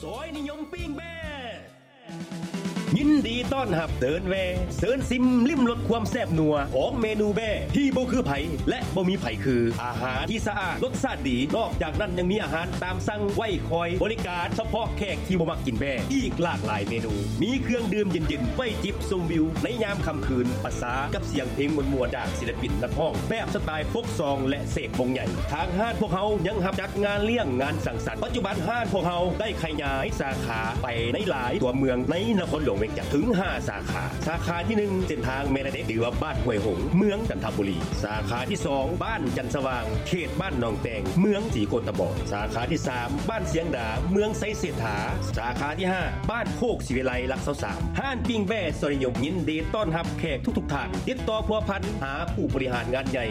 ຊອຍນິຍົມປີ້ງແບ້ ຍິນດີຕ້ອນຮັບເດີນແວ່ ເຊີນຊິມລິມລົດຄວາມແຊບນົວຂອງເມນູແບ້ທີ່ບໍ່ຄືໃຜ ແລະ ບໍ່ມີໃຜຄື. ອາຫານທີ່ສະອາດ ລົດຊາດດີ, ນອກຈາກນັ້ນຍັງມີອາຫານຕາມສັ່ງໄວ້ຄອຍບໍລິການສະເພາະແຂກທີ່ບໍ່ມັກກິນແບ້ ອີກຫຼາກຫຼາຍເມນູ. ມີເຄື່ອງດື່ມເຢັນໆ ໄວ້ຈິບຊົມວິວໃນຍາມຄ່ຳຄືນ, ປະສານກັບສຽງເພງມ່ວນໆຈາກສິລະປິນນັກຮ້ອງແບບສະຕາຍໂຟກຊອງ ແລະ ເສກວົງໃຫຍ່. ທາງຮ້ານພວກເຮົາຍັງຮັບຈັດງານລ້ຽງ, ງານສັງສັນ. ປັດຈຸບັນຮ້ານພວກເຮົາໄດ້ຂະຫຍາຍສາຂາໄປໃນຫຼາຍຕົວເມືອງໃນນະຄອນຫຼວງວຽງຈັນເຖິງຫ້າສາຂາ. ສາຂາທີໜຶ່ງ ເສັ້ນທາງແມ່ລະເດັກ ຫຼືວ່າບ້ານຫ້ວຍຫົງ ເມືອງຈັນທະບູລີ. ສາຂາທີສອງ ບ້ານຈັນສະຫວ່າງ ເຂດບ້ານໜອງແຕງ ເມືອງສີໂຄດຕະບອງ. ສາຂາທີສາມ ບ້ານຊຽງດາ ເມືອງໄຊເສດຖາ. ສາຂາທີຫ້າ ບ້ານໂຄກສີວິໄລ ຫຼັກຊາວສາມ. ຮ້ານປີ້ງແບ້ຊອຍນິຍົມ ຍິນດີຕ້ອນຮັບແຂກທຸກໆທ່ານ. ຕິດຕໍ່ພົວພັນຫາຜູ້ບໍລິຫານງານໃຫຍ່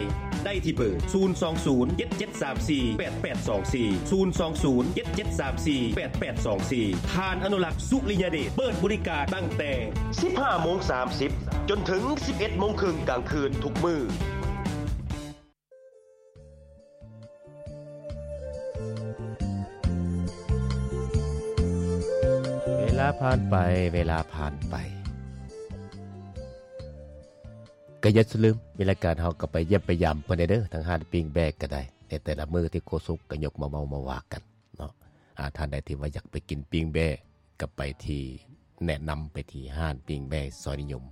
ໄດ້ທີ່ເບີ ສູນສອງສູນ ເຈັດເຈັດສາມສີ່ ແປດແປດສອງສີ່ ສູນສອງສູນ ເຈັດເຈັດສາມສີ່ ແປດແປດສອງສີ່. ທ່ານອະນຸລັກ ສຸລິຍະເດດ ເປີດບໍລິການຕັ້ງແຕ່ສິບຫ້າໂມງສາມສິບ ຈົນເຖິງສິບເອັດໂມງເຄິ່ງກາງຄືນທຸກມື້. ເວລາຜ່ານໄປ ເວລາຜ່ານໄປ ກໍຢ່າລືມ ມີລາຍການເຮົາກໍໄປຢ້ຽມໄປຢາມເພິ່ນແດ່ເດີ ທາງຮ້ານປີ້ງແບ້ກໍໄດ້ ໃນແຕ່ລະມື້ທີ່ໂຄສົກກໍຍົກມາເວົ້າມາວ່າກັນເນາະ. ອາ ທ່ານໃດທີ່ວ່າຢາກໄປກິນປີ້ງແບ້ ກໍໄປທີ່ ແນະນຳໄປທີ່ຮ້ານປີ້ງແບ້ຊອຍນິຍົມ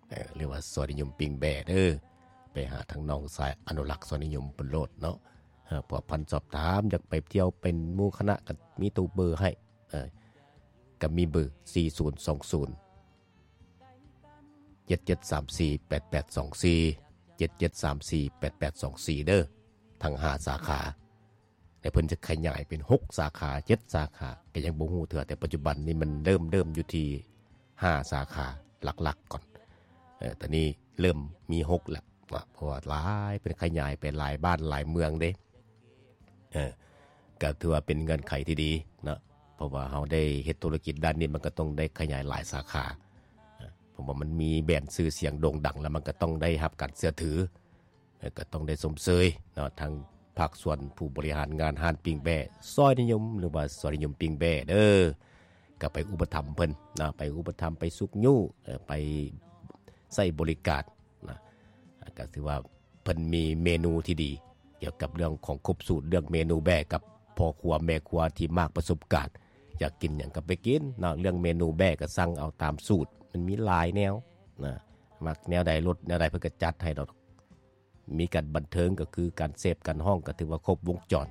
ເອີ ຫຼືວ່າຊອຍນິຍົມປີ້ງແບ້ເດີ ໄປຫາທາງນ້ອງຊາຍອະນຸລັກຊອຍນິຍົມເພິ່ນໂລດເນາະ. ເອີ ພົວພັນສອບຖາມ ຢາກໄປທ່ຽວເປັນໝູ່ຄະນະ ກໍມີໂທເບີໃຫ້ ເອີ ກໍມີເບີ ສີ່ສູນສອງສູນ ເຈັດເຈັດສາມສີ່ ແປດແປດສອງສີ່ ເຈັດເຈັດສາມສີ່ ແປດແປດສອງສີ່ເດີ ທັງຫ້າສາຂາ. ແລະ ເພິ່ນຈະຂະຫຍາຍເປັນຫົກສາຂາ ເຈັດສາຂາ ກໍຍັງບໍ່ຮູ້ເທື່ອ ແຕ່ປັດຈຸບັນນີ້ມັນເລີ່ມ ເລີ່ມຢູ່ທີ່ຫ້າສາຂາຫຼັກໆກ່ອນ. ເອີ ຕອນນີ້ເລີ່ມມີຫົກແລ້ວເນາະ ເພາະວ່າຫຼາຍ ເພິ່ນຂະຫຍາຍໄປຫຼາຍບ້ານຫຼາຍເມືອງເດ້. ເອີ ກໍຖືວ່າເປັນເງື່ອນໄຂທີ່ດີເນາະ ເພາະວ່າເຮົາໄດ້ເຮັດທຸລະກິດດ້ານນີ້ ມັນກໍຕ້ອງໄດ້ຂະຫຍາຍຫຼາຍສາຂາ. ເອີ ເພາະວ່າມັນມີແບຣນຊື່ສຽງໂດ່ງດັງ ແລ້ວມັນກໍຕ້ອງໄດ້ຮັບການເຊື່ອຖື. ເອີ ກໍຕ້ອງໄດ້ຊົມເຊີຍເນາະ ທາງພາກສ່ວນຜູ້ບໍລິຫານງານຮ້ານປີ້ງແບ້ຊອຍນິຍົມ ຫຼືວ່າຊອຍນິຍົມປີ້ງແບ້ເດີ ກໍໄປອຸປະຖຳເພິ່ນເນາະ ໄປອຸປະຖຳ ໄປຊຸກຍູ້ ເອີ ໄປໃຊ້ບໍລິການນະ. ກໍຖືວ່າເພິ່ນມີເມນູທີ່ດີ ກ່ຽວກັບເລື່ອງຂອງຄົບສູດ ເລື່ອງເມນູແບ້ ກັບພໍ່ຄົວແມ່ຄົວທີ່ມາກປະສົບການ ຢາກກິນຫຍັງກໍໄປກິນເນາະ. ເລື່ອງເມນູແບ້ກໍສັ່ງເອົາຕາມສູດ ມັນມີຫຼາຍແນວນະ ມັກແນວໃດ ລົດແນວໃດ ເພິ່ນກໍຈັດໃຫ້ດອກ. ມີການບັນເທີງ ກໍຄືການເສບການຮ້ອງ ກໍຖືວ່າຄົບວົງຈອນ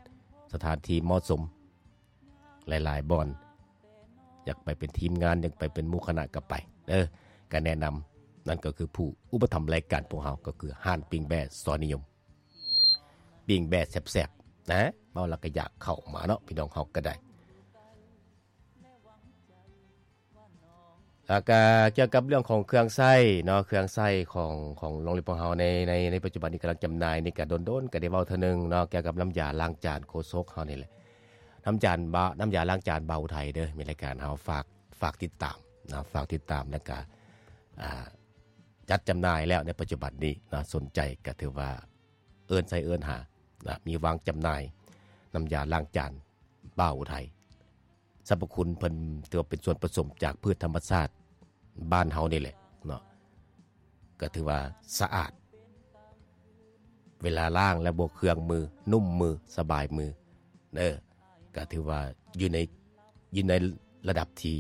ສະຖານທີ່ເໝາະສົມຫຼາຍໆບ່ອນ. ຢາກໄປເປັນທີມງານ ຢາກໄປເປັນໝູ່ຄະນະກໍໄປເດີ ກໍແນະນຳ. ນັ້ນກໍຄືຜູ້ອຸປະຖຳລາຍການພວກເຮົາ ກໍຄືຮ້ານປີ້ງແບ້ຊອຍນິຍົມ ປີ້ງແບ້ແຊບໆນະ ເວົ້າແລ້ວກໍຢາກເຂົ້າມາເນາະ ພີ່ນ້ອງເຮົາກໍໄດ້. ແລ້ວກະກ່ຽວກັບເລື່ອງຂອງເຄື່ອງໃຊ້ເນາະ ເຄື່ອງໃຊ້ຂອງ ຂອງໂຮງຮຽນພວກເຮົາໃນ ໃນ ໃນປັດຈຸບັນນີ້ກຳລັງຈຳໜ່າຍນີ້ ກະດົນໆກະໄດ້ເວົ້າເທື່ອໜຶ່ງເນາະ ກ່ຽວກັບນ້ຳຢາລ້າງຈານໂຄສົກເຮົານີ້ແຫຼະ. ນ້ຳຈານ ນ້ຳຢາລ້າງຈານບ່າວໄທເດີ ມີລາຍການເຮົາຝາກ ຝາກຕິດຕາມເນາະ ຝາກຕິດຕາມ ແລ້ວກະ ອ່າ ຈັດຈຳໜ່າຍແລ້ວໃນປັດຈຸບັນນີ້ເນາະ ສົນໃຈກະຖືວ່າເອີ້ນໃສ່ເອີ້ນຫາເນາະ ມີວາງຈຳໜ່າຍ ນ້ຳຢາລ້າງຈານບ່າວໄທ. ສັບພະຄຸນເພິ່ນຖືວ່າເປັນສ່ວນປະສົມຈາກພືດທຳມະຊາດບ້ານເຮົານີ້ແຫຼະເນາະ ກໍຖືວ່າສະອາດ ເວລາລ້າງແລ້ວບໍ່ເຄືອງມື ນຸ້ມມື ສະບາຍມືເດີ ກໍຖືວ່າຢູ່ໃນ ຢູ່ໃນລະດັບທີ່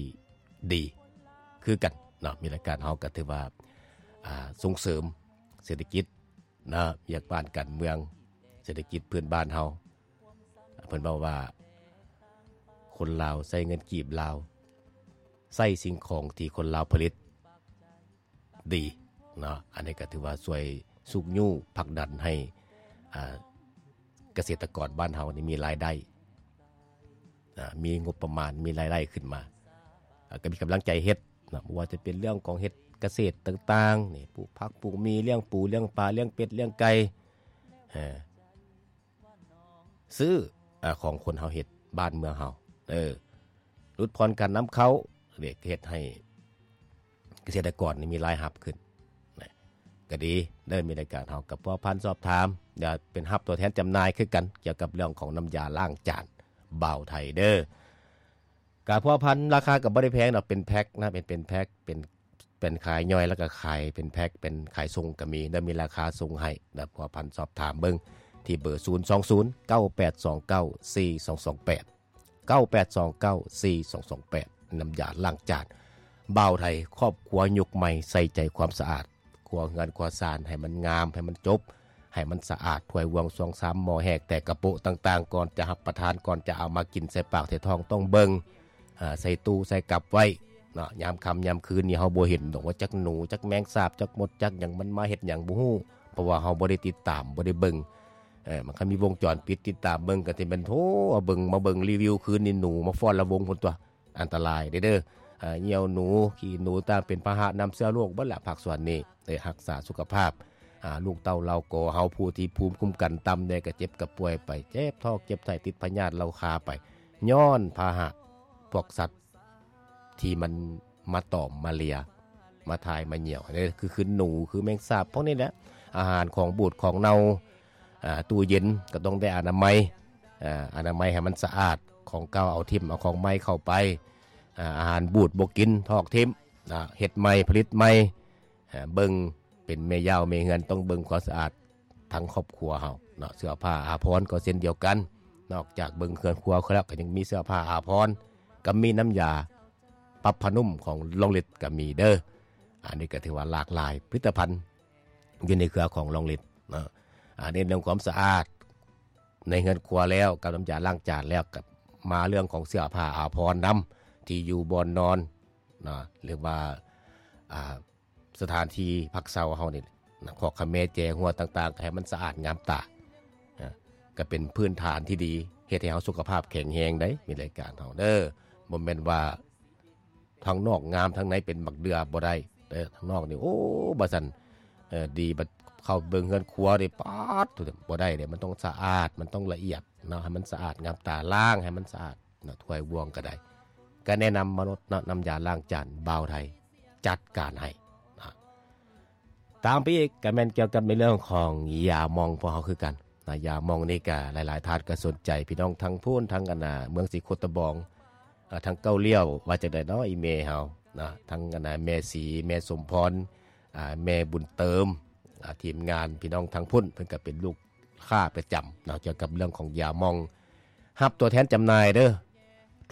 ດີຄືກັນເນາະ. ມີລາຍການເຮົາກໍຖືວ່າ ອ່າ ສົ່ງເສີມເສດຖະກິດ ນະ ວຽກບ້ານການເມືອງ ເສດຖະກິດພື້ນບ້ານເຮົາ ເພິ່ນເວົ້າວ່າ ຄົນລາວໃຊ້ເງິນກີບລາວ ໃຊ້ສິ່ງຂອງທີ່ຄົນລາວຜະລິດດີເນາະ. ອັນນີ້ກໍຖືວ່າຊ່ວຍຊຸກຍູ້ຜັກດັນໃຫ້ ອ່າ ກະເສດຕະກອນບ້ານເຮົານີ້ມີລາຍໄດ້ ອ່າ ມີງົບປະມານ ມີລາຍໄດ້ຂຶ້ນມາ ອ່າ ກໍມີກຳລັງໃຈເຮັດເນາະ ບໍ່ວ່າຈະເປັນເລື່ອງຂອງເຮັດກະເສດຕ່າງໆນີ້ ປູກຜັກປູກໝີ່ ລ້ຽງປູ ລ້ຽງປາ ລ້ຽງເປັດ ລ້ຽງໄກ່ ເອີ ຊື້ ອ່າ ຂອງຄົນເຮົາເຮັດ ບ້ານເມືອງເຮົາ ເອີ ຫຼຸດຜ່ອນການນຳເຂົ້າ ເຮັດໃຫ້ ກະເສດຕະກອນນີ້ມີລາຍຮັບຂຶ້ນນະ ກໍດີເດີ. ມີລາຍການເຮົາກໍພົວພັນສອບຖາມ ຢາກເປັນຮັບຕົວແທນຈຳໜ່າຍຄືກັນ ກ່ຽວກັບເລື່ອງຂອງນ້ຳຢາລ້າງຈານບ່າວໄທເດີ. ກະພົວພັນ ລາຄາກໍບໍ່ໄດ້ແພງດອກ ເປັນແພັກນະ ເປັນ ເປັນແພັກ ເປັນ ເປັນຂາຍຍ່ອຍ ແລ້ວກໍຂາຍເປັນແພັກ ເປັນຂາຍສົ່ງກໍມີ ແລ້ວມີລາຄາສົ່ງໃຫ້ນະ. ພົວພັນສອບຖາມເບິ່ງທີ່ເບີ ສູນສອງສູນ ເກົ້າແປດສອງເກົ້າ ສີ່ສອງສອງແປດ ເກົ້າແປດສອງເກົ້າ ສີ່ສອງສອງແປດ ນ້ຳຢາລ້າງຈານບ່າວໄທ ຄອບຄົວຍຸກໃໝ່ ໃສ່ໃຈຄວາມສະອາດ ຄົວເຮືອນຄົວຊານໃຫ້ມັນງາມ ໃຫ້ມັນຈົບ ໃຫ້ມັນສະອາດ ຖ້ວຍບ່ວງຊວງຊາມ ໝໍ້ແຮກ ແຕກກະໂປະຕ່າງໆ ກ່ອນຈະຮັບປະທານ ກ່ອນຈະເອົາມາກິນໃສ່ປາກໃສ່ທ້ອງ ຕ້ອງເບິ່ງ ອາ ໃສ່ຕູ້ໃສ່ກັບໄວ້ເນາະ. ຍາມຄ່ຳຍາມຄືນນີ້ ເຮົາບໍ່ເຫັນດອກວ່າຈັກໜູ ຈັກແມງສາບ ຈັກມົດ ຈັກຫຍັງ ມັນມາເຮັດຫຍັງບໍ່ຮູ້ ເພາະວ່າເຮົາບໍ່ໄດ້ຕິດຕາມ ບໍ່ໄດ້ເບິ່ງ. ເອີ ມັນຄັນມີວົງຈອນປິດຕິດຕາມເບິ່ງ ກໍຊິແມ່ນ ໂທ້ ເບິ່ງ ມາເບິ່ງຣີວິວຄືນນີ້ ໜູມາຟ້ອນລະວົງພຸ້ນຕົວະ. ອັນຕະລາຍເດ້ ເດີ ອາ ຍ່ຽວໜູ ຂີ້ໜູຕ່າງ ເປັນພາຫະນຳເຊື້ອໂລກເບິດລະ ພາກສ່ວນນີ້. ໄດ້ຮັກສາສຸຂະພາບ ອາ ລູກເຕົ້າເຫຼົ່າກໍເຮົາ ຜູ້ທີ່ພູມຄຸ້ມກັນຕ່ຳແດ່ ກໍເຈັບກໍປ່ວຍໄປ ເຈັບທ້ອງເຈັບໄສ້ ຕິດພະຍາດເລົ້າຄາໄປ ຍ້ອນພາຫະພວກສັດທີ່ມັນມາຕອມມາເລຍ ມາຖ່າຍມາຍ່ຽວ ຄື ຄືໜູ ຄືແມງສາບ ພວກນີ້ແຫຼະ. ອາຫານຂອງບູດຂອງເນົ່າ ອາ ຕູ້ເຢັນກໍຕ້ອງໄດ້ອະນາໄມ ອາ ອະນາໄມໃຫ້ມັນສະອາດ ຂອງເກົ່າເອົາຖິ້ມ ເອົາຂອງໃໝ່ເຂົ້າໄປ ອາ ອາຫານບູດບໍ່ກິນ ຖອກຖິ້ມ ອາ ເຮັດໃໝ່ ຜະລິດໃໝ່ ອາ ເບິ່ງ ເປັນແມ່ຢາວແມ່ເຮືອນ ຕ້ອງເບິ່ງຄວາມສະອາດທັງຄອບຄົວເຮົາເນາະ. ເສື້ອຜ້າອາພອນກໍເຊັ່ນດຽວກັນ ນອກຈາກເບິ່ງເຮືອນຄົວແລ້ວ ກໍຍັງມີເສື້ອຜ້າອາພອນ ກໍມີນ້ຳຢາປັບຜ້ານຸ້ມຂອງລອງລິດກໍມີເດີ. ອັນນີ້ກໍຖືວ່າຫຼາກຫຼາຍຜະລິດຕະພັນຢູ່ໃນເຄືອຂອງລອງລິດເນາະ. ອາ ເນັ້ນເລື່ອງຄວາມສະອາດໃນເຮືອນຄົວແລ້ວ ກັບນ້ຳຢາລ້າງຈານແລ້ວ ກໍມາເລື່ອງຂອງເສື້ອຜ້າອາພອນນຳ ທີ່ຢູ່ບ່ອນນອນເນາະ ຫຼືວ່າ ອາ ສະຖານທີ່ພັກເຊົາເຮົານີ້ນະ ຄອກຂະແມແຈຫົວຕ່າງໆ ກໍໃຫ້ມັນສະອາດງາມຕາ ນະ ກໍເປັນພື້ນຖານທີ່ດີ ເຮັດໃຫ້ເຮົາສຸຂະພາບແຂງແຮງໄດ໋ ມີລາຍການເຮົາເດີ. ບໍ່ແມ່ນວ່າທາງນອກງາມ ທາງໃນເປັນບັກເດືອ ບໍ່ໄດ້ເດີ. ທາງນອກນີ້ ໂອ້ ວ່າຊັ້ນ ເອີ ດີ ບັດເຂົ້າເບິ່ງເຮືອນຄົວນີ້ ປາດ ບໍ່ໄດ້ເດ້. ມັນຕ້ອງສະອາດ ມັນຕ້ອງລະອຽດເນາະ ໃຫ້ມັນສະອາດງາມຕາ ລ້າງໃຫ້ມັນສະອາດ ນະ ຖ້ວຍບ່ວງກໍໄດ້ ກໍແນະນຳມາໂລດເນາະ ນ້ຳຢາລ້າງຈານບ່າວໄທ ຈັດການໃຫ້ນະ. ຕາມໄປອີກກໍແມ່ນກ່ຽວກັບໃນເລື່ອງຂອງຢາໝອງພວກເຮົາຄືກັນນະ. ຢາໝອງນີ້ກໍຫຼາຍໆທ່ານກໍສົນໃຈ ພີ່ນ້ອງທາງພຸ້ນ ທາງອັນນ່າ ເມືອງສີໂຄດຕະບອງ ອາ ທາງເກົ້າລ້ຽວ ວ່າຈັ່ງໃດເນາະ ອີ່ແມ່ເຮົານະ ທາງອັນນ່າ ແມ່ສີ ແມ່ສົມພອນ ອາ ແມ່ບຸນເຕີມ ອາ ທີມງານ ພີ່ນ້ອງທາງພຸ້ນ ເພິ່ນກໍເປັນລູກ ຄ້າປະຈຳເນາະ ກ່ຽວກັບເລື່ອງຂອງຢາໝອງ ຮັບຕົວແທນຈຳໜ່າຍເດີ.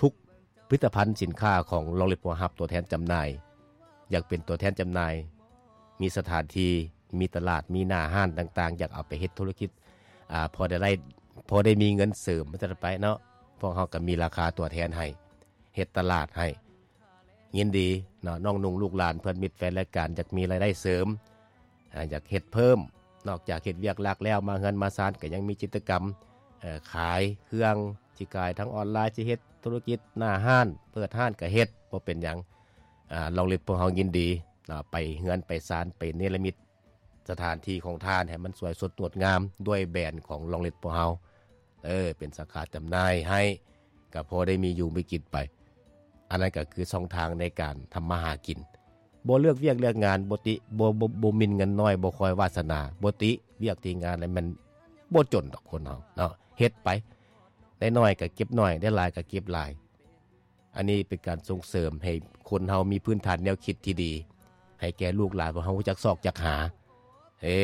ທຸກຜະລິດຕະພັນສິນຄ້າຂອງລອງລິດ ພວກເຮົາຮັບຕົວແທນຈຳໜ່າຍ. ຢາກເປັນຕົວແທນຈຳໜ່າຍ ມີສະຖານທີ່ ມີຕະຫຼາດ ມີໜ້າຮ້ານຕ່າງໆ ຢາກເອົາໄປເຮັດທຸລະກິດ ອາ ພໍໄດ້ໄດ້ ພໍໄດ້ມີເງິນເສີມ ວ່າຊັ້ນໄປເນາະ. ພວກເຮົາກໍມີລາຄາຕົວແທນໃຫ້ ເຮັດຕະຫຼາດໃຫ້ ຍິນດີເນາະ ນ້ອງນຸ່ງລູກຫຼານ ເພື່ອນມິດແຟນລາຍການ ຢາກມີລາຍໄດ້ເສີມ ອາ ຢາກເຮັດເພີ່ມ ນອກຈາກເຮັດວຽກຫຼັກແລ້ວ ມາເຮືອນມາຊານກໍຍັງມີກິດຈະກຳ ເອີ ຂາຍເຄື່ອງ ຊິຂາຍທາງອອນລາຍ ຊິເຮັດທຸລະກິດໜ້າຮ້ານ ເປີດຮ້ານກໍເຮັດ ບໍ່ເປັນຫຍັງ. ອາ ລອງລິດ ພວກເຮົາຍິນດີເນາະ ໄປເຮືອນໄປຊານ ໄປເນລະມິດ ສະຖານທີ່ຂອງທ່ານໃຫ້ມັນສວຍສົດງົດງາມ ດ້ວຍແບຣນຂອງລອງລິດພວກເຮົາ ເອີ ເປັນສາຂາຈຳໜ່າຍໃຫ້ ກໍພໍໄດ້ມີຢູ່ມີກິນໄປ. ອັນນັ້ນກໍຄືຊ່ອງທາງໃນການທຳມາຫາກິນ. ບໍ່ເລືອກວຽກເລືອກງານ ບໍ່ຕິ ບໍ່ ບໍ່ ບໍ່ໝິ່ນເງິນນ້ອຍ ບໍ່ຄອຍວາສະໜາ ບໍ່ຕິວຽກຕິງານ ແລ້ວແມ່ນບໍ່ຈົນດອກຄົນເຮົາເນາະ. ເຮັດໄປ ໄດ້ໜ້ອຍກໍເກັບໜ້ອຍ ໄດ້ຫຼາຍກໍເກັບຫຼາຍ. ອັນນີ້ເປັນການສົ່ງເສີມໃຫ້ຄົນເຮົາມີພື້ນຖານແນວຄິດທີ່ດີ ໃຫ້ແກ່ລູກຫຼານພວກເຮົາຮູ້ຈັກຊອກຈັກຫາ. ເອີ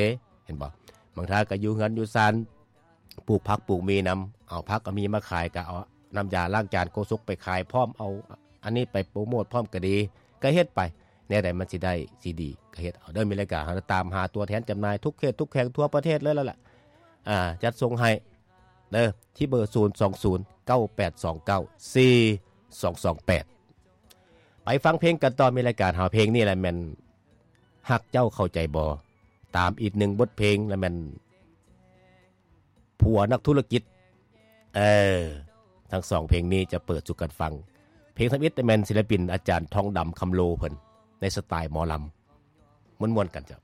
ເຫັນບໍ່? ບາງທ່ານກໍຢູ່ເຮືອນຢູ່ຊານ ປູກຜັກປູກໝີ່ນຳ ເອົາຜັກເອົາໝີ່ມາຂາຍ ກໍເອົານ້ຳຢາລ້າງຈານໂກສົກໄປຂາຍພ້ອມ ເອົາອັນນີ້ໄປໂປຣໂມດພ້ອມກໍດີ ກໍເຮັດໄປ. ແນວໃດມັນຊິໄດ້ຊິດີກໍເຮັດເອົາເດີ. ມີລາຍການເຮົາຕາມຫາຕົວແທນຈຳໜ່າຍທຸກເຂດທຸກແຂວງທົ່ວປະເທດເລີຍແລ້ວລະ ອາ ຈັດສົ່ງໃຫ້ ເດີ ທີ່ເບີ ສູນສອງສູນ ເກົ້າແປດສອງເກົ້າ ສີ່ສອງສອງແປດ. ໄປຟັງເພງກັນຕໍ່ ມີລາຍການເຮົາ ເພງນີ້ແຫຼະແມ່ນ ຮັກເຈົ້າເຂົ້າໃຈບໍ່? ຕາມອີກໜຶ່ງບົດເພງລະແມ່ນ ຜົວນັກທຸລະກິດ. ເອີ ທັງສອງເພງນີ້ຈະເປີດສູ່ກັນຟັງ. ເພງທຳອິດແມ່ນສິລະປິນອາຈານທອງດຳ ຄຳໂລ ເພິ່ນ ໃນສະໄຕລ໌ໝໍລຳ ມ່ວນໆກັນເຈົ້າ.